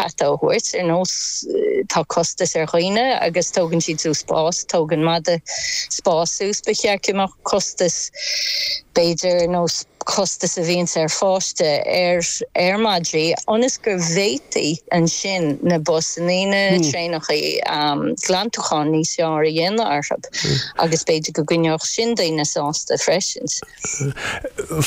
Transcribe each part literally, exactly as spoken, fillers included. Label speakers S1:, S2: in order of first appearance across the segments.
S1: peata a thabhairt, ar nós tá costas ar dhaoine agus tógann siad suas spás, tógann mada spás suas, ba cheart go mbeadh costas b'fhéidir ar nós costas a bhíonns ar pháiste ar ar madraí ionas go bhféadfaí ansin na busannaí, na traenachaí glantachán níos fearr a dhéanamh orthu agus b'fhéidir go gcoinneodh sin daoine sásta freisin.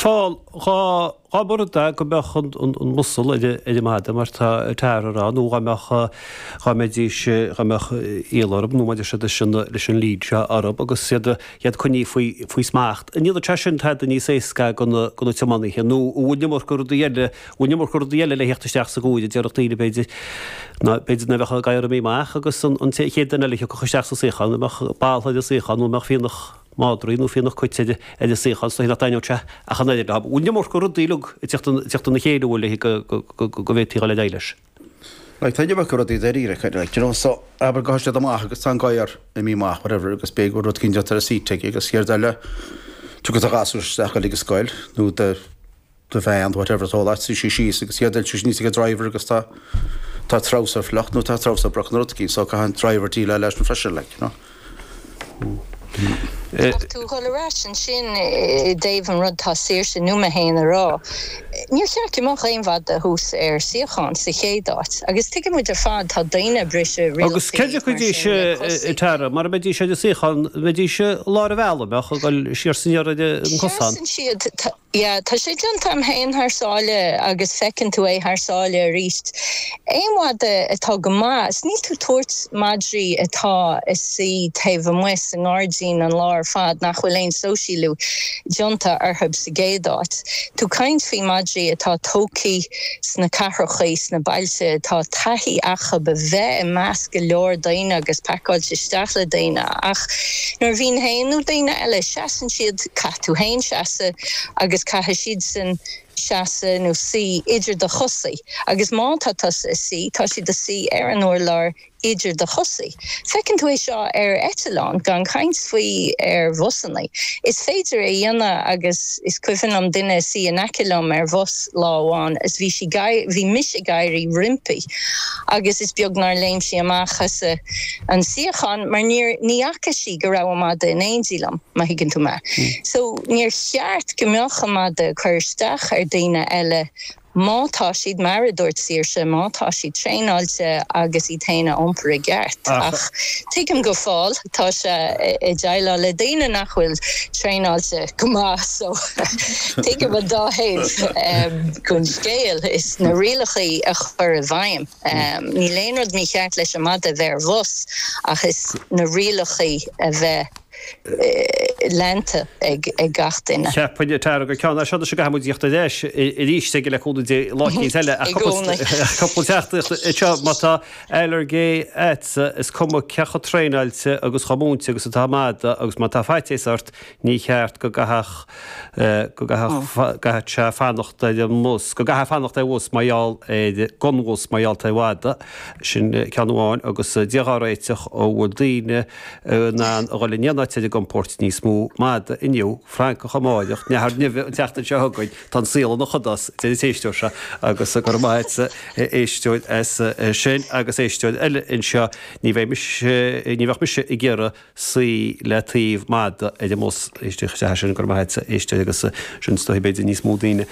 S2: Paul, dhá dhá mba rud é go mbeadh an an muscle ar an mada mar tá Tara a rá nó dhá mbeadh dhá mbeidís dhá mbeadh iall orthu nó maidir siad leis an leis an lead seo orthu agus iad iad coinnithe faoi faoi smacht. An ndéanfadh sé sin tada níos éasca do na do na tiománaithe nó an bhfuil an iomarca rudaí eile bhfuil an iomarca rudaí eile le theacht isteach sa gcomhaireamh déarfadh daoine b'fhéidir ná b'fhéidir nach mbeadh gadhar imithe amach agus an an chéad duine eile a thiocfadh isteach sa suíochán an mbeadh ball ar an suíochán nó an mbeadh fíonach madraí nó fíonach cait ar ar an suíochán is dóigh nach dtaitneodh sé ach an oiread leo. Bhfuil an iomarca rudaí uilig ag teacht teacht ina chéile bhfuil léi go go go go bhféadfaí dhul ar aghaidh leis.
S3: Like tá an iomarca rudaí dáiríre kind of like, you know, so abair go siad amach agus tá an gadhar imithe amach whatever agus b'fhéidir go rud éicint déanta ar an seat aige agus chéad eile tugadh do ghasúr isteach ag an scoil nó do do bhean whatever tá leat sí síos agus chéad eile sí níos ag driver agus tá tá trouser fliuch nó tá trouser broc nó rud éicint so caithfidh an driver déileáil leis an freisin like, you know.
S1: Ach tú dhul ar ais ansin i dtaobh an rud tá Saoirse nó mé féin a rá. Níor cheart go mbeadh aon mhada thuas ar suíochán sa chéad áit, agus tuigeann muid ar fad tá daoine ag briseadh
S2: Agus
S1: rialacha
S2: cé dtiocfaidís
S1: mar sin le cosaí.
S2: Tara, mar a mbeidís ar an suíochán, mbeidís i lár an bhealaigh, mbeadh ag dul siar is aniar ar an gcosán.
S1: Seasann siad, yeah, tá sé déanta agam féin thar sáile agus feiceann tú é thar sáile arís. Aon mhada atá go maith, is níl tú ag tabhairt madraí atá ag suí taobh amuigh sa ngairdín an lá ar fad nach bhfuil aon sóisialú déanta orthu sa gcéad áit. Tú caint faoi madraí atá tógtha sna cathracha, sna bailte, atá taithí acu a bheith i measc go leor daoine agus pacáilte isteach le daoine ach nuair a bhíonn féin nó daoine eile, seasann siad, caithfidh tú féin seasamh agus caithfidh siadsan seasamh nó suí idir do chosaí agus má tá tusa ag suí, tá siad ag suí ar an urlár idir do chosaí. Feiceann tú é seo ar eitleán, gan caint faoi ar bhusanna. Is féidir é a dhéanamh agus is cuimhin liom duine ag suí in aice liom ar bhus lá amháin is bhí sí bhí mise ag éirí roimpi agus is beag nár léim sí amach as an suíochán mar níor ní fhaca sí go raibh an mada in éindí liom, má thuigeann tú mé. So níor cheart go mbeadh an mada ag cur isteach ar daoine eile má tá siad, mar a dúirt Saoirse, má tá siad traenáilte agus iad féin a iompar i gceart. Ach tuigim go fóill, tá sé ag déileáil le daoine nach bhfuil traenáilte go maith so tuigim an dá thaobh den scéal is na rialacha a chur i bhfeidhm. Níl aon rud mícheart leis an mada a bheith ar bhus ach is na rialacha a bheith leanta ag gach duine.
S2: Cheapfainn, Tara, gur ceann é seo go gcaithfidh muid tíocht ar ais arís aige le cúnamh Dé lá éicint eile ach cúpla teachtaireacht anseo má tá ailléirge agatsa is cuma cé chomh traenáilte agus chomh múinte agus atá mada agus má tá faitíos ort ní cheart go gcaithfeadh go gcaithfeadh gcaithfeadh sé fanacht ar an mbus go gcaithfeadh fanacht ar bhus mar gheall ar gon bhus mar gheall ar mhada sin ceann amháin agus Dia dhá réiteach an bhfuil daoine in ann a dhul in aon áit ar a gcompord níos mó mada inniu, francach amáireach, nathair nimhe an tseachtain seo chugainn, tá an saol ina chodás, deir an t-éisteoir seo agus go raibh maith agatsa a éisteoir as sin agus éisteoir eile anseo, ní bheidh mise, ní bheadh mise ag iarraidh suí le taobh mada ar an mbus, éisteoir is ea sin, go raibh maith agatsa a éisteoir agus sin is dóigh b'fhéidir níos mó daoine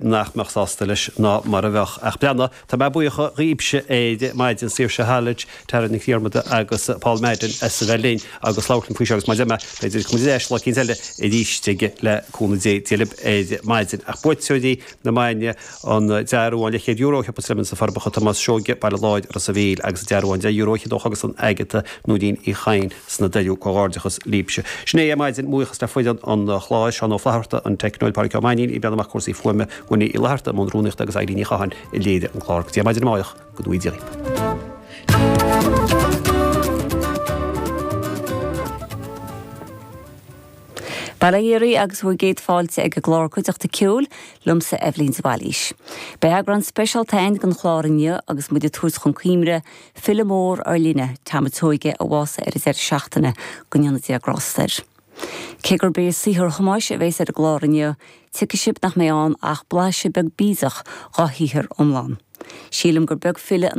S2: nach mbeadh sásta leis ná mar a bheadh ach breathnaigh, tá mé buíoch dhaoibhse ar maidin, Saoirse Hallett, Tara Nic Dhiarmada agus Paul Madden as a bheith linn agus labhairt linn faoi seo agus mar a deir mé, b'fhéidir go mbeidh muid ar ais lá eicínt eile arís aige le cúnamh Dé. Dia libh ar maidin. Ach buaiteoirí na maidine, an dearbhán leathchéad euro ó Shiopa Slemon sna Forbacha, Tomás Seoige, Baile Láir, Ros a' Mhíl agus an dearbhán deich euro fhichead ó Chógaslann Agatha, Nóirín Uí Chadhain sna Doirí. Comhghairdeachas libhse. Sin é ar maidin. Buíochas le foireann an chláir, Seán Ó Flatharta, an teicneoir, Pádraic Ó Mainnín, ag breathnú amach cúrsaí fuaime, Winnie Uí Fhlatharta i mbun rúnaíochta agus Eileen Ní Chatháin a léirigh an clár. Go dtí ar maidin amáireach, go dtugaí Dia dhaoibh.
S4: Bail ó Dhia oraibh agus bhur gcéad fáilte ag an gclár Cuideachta Ceoil, liomsa Eibhlín de Bhailís. Beidh eagrán speisialta againn den chlár inniu agus muid ag tabhairt chun cuimhne file mór ár linne, Tom a' tSeoighe, a bhásaigh ar an deireadh seachtaine, go ndéana Dia grásta air. Cé gurb é saothar Thomáis a bhéas ar an gclár inniu, tuigfidh sibh nach mbeidh ann ach blaiseadh beag bídeach dhá shaothar iomlán. Sílim gur beag file in